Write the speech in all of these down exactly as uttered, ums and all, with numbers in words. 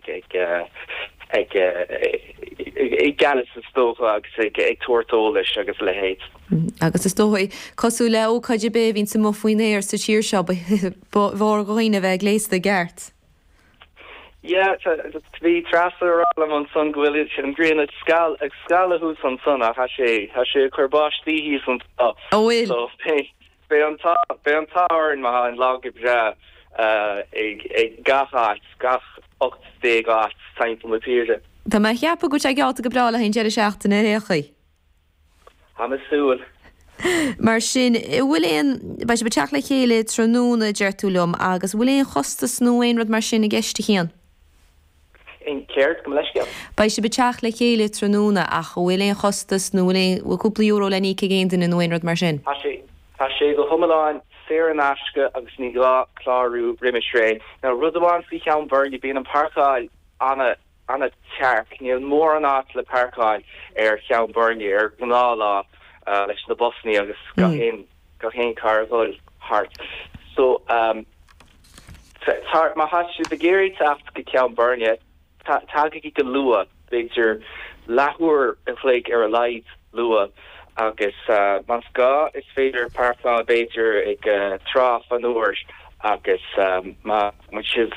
ag ag ag ag gceannas is dócha agus ag ag tabhairt eolais agus a leithéid. Agus is dóigh cosúil le ócáid ar bith a bhíonn amuigh faoin aer sa tír seo ba mhór do dhaoine bheith gléasta i gceart. Yeah, bhí Treasa ag rá liom ansan go bhfuil an ghrian ag scal ag scaladh thuas ansan ach tá sé tá sé ag cur báistí thíos anseo. Ó bhfuil? So beidh an t-ádh beidh an t-ádh orainn má tá an lá go breá ag ag gach áit, gach ocht déag áit timpeall na tíre. Tá mé a cheapadh go bhfuil sé geallta go breá le haghaidh an deireadh seachtaine ar aon chaoi. Tá mé ag súil. Mar sin, an bhfuil aon, beidh sibh ag teacht le chéile tráthnóna, deir tú liom, agus an bhfuil aon chostas nó aon rud mar sin i gceist, a Chian? Aon céard, gabh mo leithscéal? Beidh sibh ag teacht le chéile tráthnóna ach an bhfuil aon chostas nó bhfuil aon, bhfuil cúpla euro le n-íoc ag aon duine nó aon rud mar sin? Tá sé, tá sé go hiomlán saor in aisce agus ní gá clárú roimis ré. Now rud amháin faoi Cheann Bhuirne, bíonn an páirceáil ana, ana tearc, níl mórán áit le páirceáil ar Cheann Bhuirne ar ghnáthlá leis na busannaí agus gach aon, gach aon carr a dhul thart. So, um. Má tá sibh ag iarraidh teacht go Ceann Bhuirne, tagaigí go luath, b'fhéidir leathuair an chloig ar a laghad luath, agus más gá is féidir páirceáil b'fhéidir ag Trá Chonúir agus má bhfuil sibh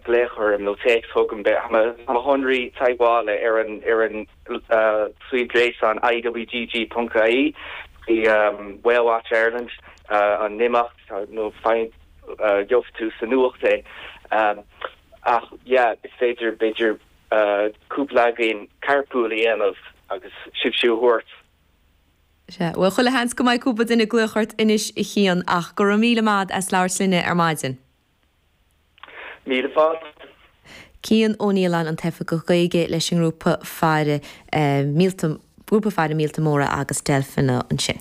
glaoch orm nó téacs chugam, tá mo shonraí teagmhála ar an ar an suíomh gréasáin I W G G ponc I E faoi Whale Watch Ireland an imeacht nó faigheann gheobhaidh tú sa nuacht é. Ach yeah, is féidir b'fhéidir cúpla againn carpool a dhéanamh agus sibhse a thabhairt. Sea, bhuel chuile sheans go mbeidh cúpla duine ag glaoch ort anois a Chian ach go raibh míle maith as labhairt linne ar maidin. Míle fáilte. Cian Ó Nialláin an tOifigeach Gaeilge leis an ngrúpa Faire Míolta, Grúpa Faire Míolta Móra agus Deilfeanna ansin.